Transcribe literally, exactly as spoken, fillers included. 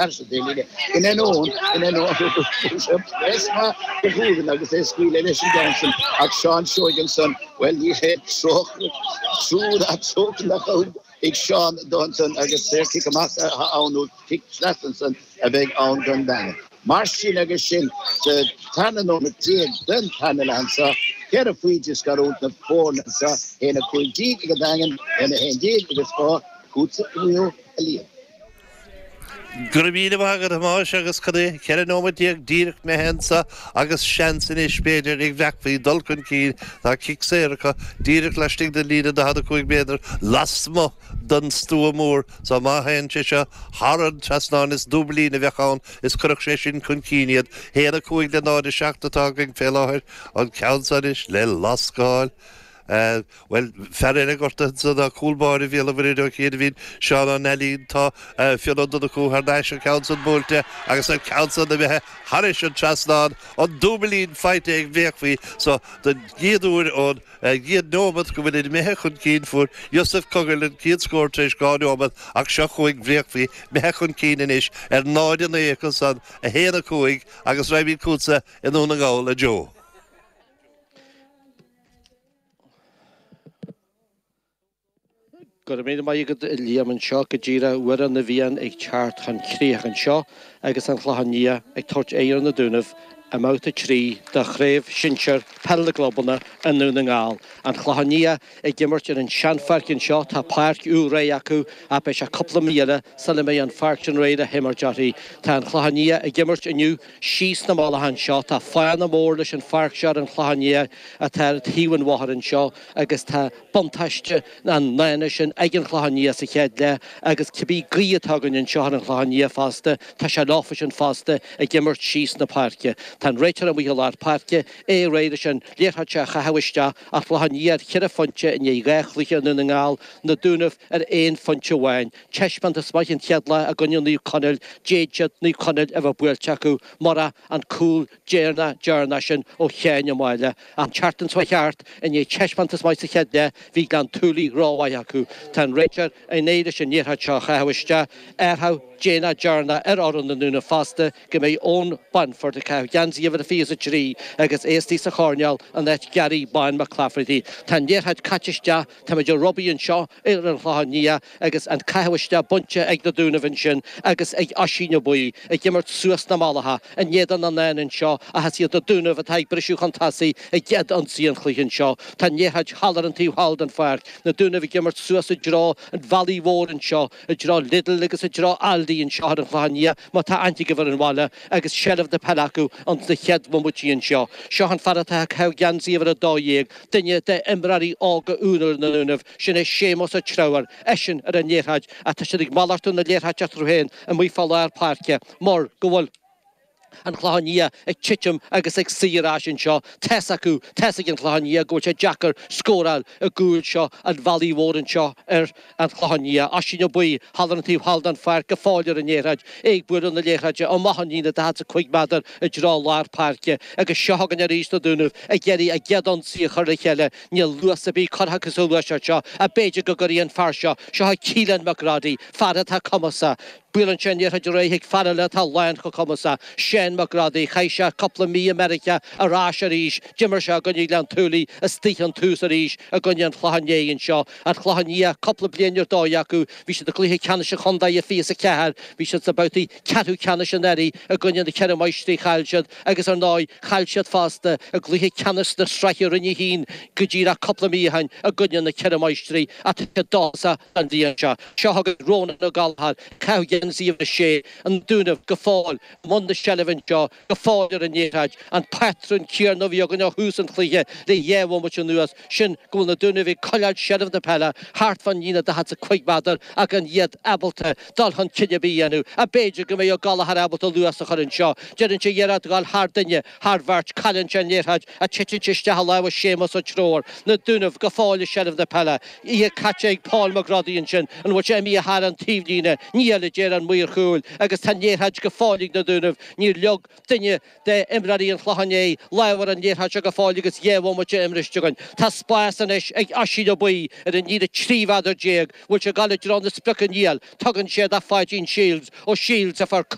Sa délíne in an ón in an ón agus é scaoileadh leis an Johnson ach Seán Seoigenson well ní hé trú nach ag Seán Donson agus cic amach ann cic trasna a bheidh ann don Daingean. Mar sin agus sin sa tarna nóiméad déag den tarna leath anseo, ceithre phointe scarúint na foirne anseo haon a cúig déag ag an Daingean, haon a haon déag agus dhá chútsa Mhaigh Eo a Liam. Go raibh míle maith agat a Thomáis agus cad é ceithre nóiméad déag díreach imithe anseo agus seans anois b'fhéidir ag Bhreacfaí dul chun cinn tá cic saor acu díreach laistigh den líne daichead a cúig méadar lasmuigh den stua mór so má théann sé seo thar an trasnán is dúbailín a bheadh ann is cuirfeadh sé sin chun cinn iad haon a cúig le náid a seacht atá againn fé láthair an ceann seo anois le lascáil. Bhuel, fear eile gortaithe ansan ná cúl báire Bhéal an Mhuirthead ó chianaibhín, Seán Ó Neilín, tá Fionn Ó Donnchú thar n-ais, an ceann san buailte agus an ceann san imithe thairis an trasnán, an dúbailín faighte ag Bhréachmhaí so don gcéad uair ón gcéad nóimeat go bhfuil imithe chun cinn fuair Yusuf Cogill an chéad scór tar éis dhá nóimeat ach seo chugainn Bhréachmhaí imithe chun cinn anois ar náid a naoi acu san, a haon a cúig agus raghaimid chugatsa i nDún na nGall, a Joe. Go raibh míle maith agat a Liam anseo go díreach uair na bhFiann ag teacht chun críoch anseo agus an Clochán Liath ag tabhairt aghaidh ar na Dúnaibh i mbabhta trí de Chraobh Shinsir Peil na gClubanna i nDún na nGall. An Clochán Liath ag imirt ar an seanpháirc anseo, tá páirc úr réidh acu ach beidh sé cúpla mí eile sula mbeidh an pháirc sin réidh le himirt uirthi. Tá an Clochán Liath ag imirt inniu síos na mullacha anseo, tá fána mór leis an pháirc seo ar an Chlochán Liath atá ar thaobh an bhóthair anseo agus tá buntáiste an fhána sin ag an Chlochán Liath sa chéad leath agus cibé gaoth atá againn anseo ar an Chlochán Liath fosta, tá sé leofa sin fosta ag imirt síos na páirce. Tá an réiteoir amuigh i lár páirce, é réidh leis an liathróid seo a chaitheamh isteach an Clochán Liath ar cheithre phointe i ndiaidh dhá chluiche i Ndún na nGall, na Dúnaibh ar aon phointe amháin. Taispeántas maith an chéad lá i gcoinne Naomh Conaill, d'fhéadfadh siad Naomh Conaill a bheith buailte acu murach an cúl deireanach deireanach sin ó Sheáin Ó Máille. An tseachtain seo thart, i ndiaidh taispeántas maith sa chéad leath, bhí Gleann tSúilí rómhaith acu. Tá an réiteoir i ndiaidh leis an liathróid seo a chaitheamh isteach. Athrú déanach deireanach ar fhoireann na nDúnaibh fosta go mbeidh Eoin Bonford ag caitheamh geansaí uimhir a fiche is a trí agus é istigh sa choirnéal in áit Gary Bán McClafferty. Tá an liathróid caite isteach, táimid ag rubaí anseo ar an Chlochán Liath agus an caitheamh isteach bainte ag na Dúnaibh ansin agus ag Oisín Ó Baoill ag imirt suas na mullacha in éadan an fhána anseo ach is iad na Dúnaibh atá ag briseadh chun tosaigh i gcéad ionsaí an chluiche anseo. Tá an liathróid thall ar an taobh thall den pháirc, na Dúnaibh ag imirt suas i dtreo an bhealaigh mhóir anseo, i dtreo Lidl agus i dtreo Aldi anseo ar an Chlochán Liath má tá aithne agaibh ar an bhaile agus seilbh na peile acu ins na chéad bhomaití anseo. Seo an fear atá ag caitheamh geansaí uimhir a dó dhéag, duine d'imreoirí óga úra na nDúnaibh, sin é Séamus Ó Treabhair, eisean ar an liathróid ach tá siad ag malartú na liathróide eatarthu féin amuigh fá lár páirce mar go bhfuil an Clochán Liath ag titim agus ag suí ar ais anseo. Tá's acu, tá's ag an Chlochán Liath go bhfuil sé deacair scóráil i gcúl seo an bhealaigh mhóir anseo ar an Chlochán Liath. Oisín Ó Baoill thall ar an taobh thall den pháirc go fóill ar an liathróid, é ag bualadh na liathróide amach an líne daichead is a cúig méadar i dtreo lár páirce agus seo chugainn arís na Dúnaibh ag iarraidh a gcéad ionsaí a chur le chéile. Níl luas ar bith curtha acu sa ghluaiseacht seo ach b'fhéidir go gcuirfidh an fear seo, seo é Keelan McGroddy, fear atá cumasach, Buaileann sé an liathróid ar aghaidh chuig fear eile atá lán chomh cumasach, Shane McGroddy. Chaith sé cúpla mí i Meiriceá ar ais arís. D'imir sé i gcoinne Ghleann tSúilí istigh ón tús arís i gcoinne an Chlocháin Léith anseo. An Clochán Liath, cúpla bliain ar dóigh acu. Bhí siad i gcluiche ceannais an chontae i fiche is a ceathair. Bhí siad sna babhtaí ceathrú ceannais anuraidh i gcoinne na Ceithre Máistrí chaill siad agus ar ndóigh chaill siad fosta i gcluiche ceannais na sraithe Roinn a haon go díreach cúpla mí ó shin i gcoinne na Ceithre Máistrí ach tá siad dóchasach an bhliain seo. Seo chugainn Rónán Ó Gallchóir, caitheamh geansaí uimhir a sé, an Dúnaibh go fóill i mbun na seilbhe anseo, go fóill ar an liathróid, an patrún céanna a bhí againn ó thús an chluiche le dhá bhomaite anuas, sin go bhfuil na Dúnaibh ag coinneáil seilbh na peile thart fán líne daichead is a cúig méadar ach gan iad ábalta dul chun cinn ar bith a dhéanamh. Ach b'fhéidir go mbeidh Ó Gallchóir ábalta luas a chur anseo. Déanann sé iarracht a ghabháil thar duine, thar bheirt, cailleann sé an liathróid ach titeann sé isteach i lámha Séamus Ó Treabhair. Na Dúnaibh go fóill i seilbh na peile. Í caite ag Paul McGroddy ansin. An bhfuil sé imithe thar an taobhlíne? Níl, a deir an maor cúil, agus tá an liathróid go fóill ag na Dúnaibh. Níor leag duine d'imreoirí an Chlocháin Léith lámh ar an liathróid seo go fóill agus dhá bhomaite imeartha againn. Tá spás anois ag Oisín Ó Baoill ar an líne trí mhéadar déag, bhfuil sé ag gabháil i dtreo na sprioce níl, tugann sé do Pháidín Shields ó Shields a fuair